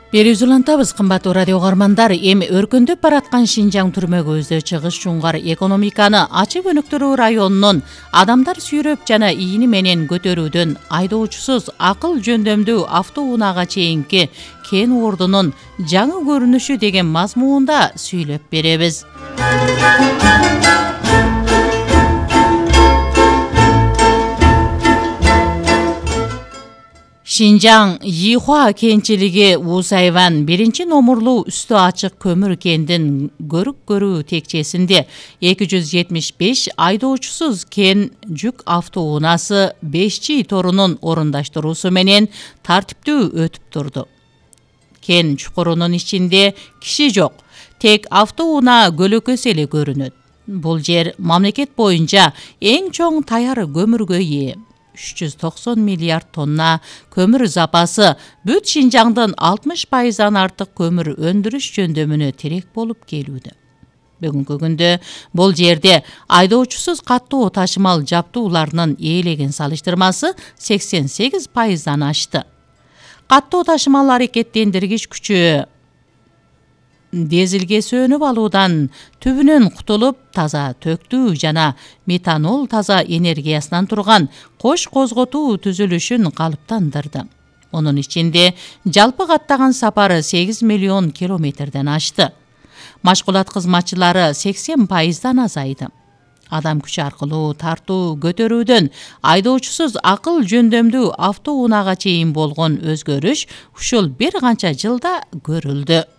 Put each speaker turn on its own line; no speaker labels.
Берүүзү улантабыз, кымбаттуу радио угармандар. Эми өркүндөп бараткан Шинжаң түрмөгүбүздө чыгыш жунгар экономиканы ачык өнүктүрүү районунун адамдар сүйрөп жана ийини менен көтөрүүдөн айдоочусуз акыл жөндөмдүү автоунаага чейинки кен ордунун жаңы көрүнүшү деген мазмуунда сүйлөп беребиз. Шинжаң Йихуа кенчилиги Усайван 1-номурлуу үстү ачык көмүр кендин көрүк көрүү текчесинде 275 айдоочусуз кен жүк автоунаасы 5G торунун орундаштыруусу менен тартиптүү өтүп турду. Кен чукурунун ичинде киши жок, тек автоунаа көлөкөсү эле көрүнөт. Бул жер мамлекет боюнча эң чоң таяр көмүргө ээ. 390 миллиард тонна көмүр запасы бүт Шинжаңдын 60%-дан артык көмүр өндүрүш жөндөмүнө терек болуп келүүдө. Бүгүнкү күндө бул жерде айдоочусуз каттуу ташымал жабдууларынын ээлеген салыштырмасы 88%-дан ашты. Каттуу ташымал аракеттендиргич күчү дизелге сөнүп алуудан түбүнөн кутулуп, таза төктүү жана метанол таза энергиясынан турган кош козготуу түзүлүшүн калыптандырды. Онун ичинде жалпы каттаган сапары 8 миллион километрден ашты. Машкулат кызматчылары 80%-дан азайды. Адам күчү аркылуу тартуу көтөрүүдөн айдоочусуз акыл жөндөмдүү автоунаага чейин болгон өзгөрүш ушул бир канча жылда көрүлдү.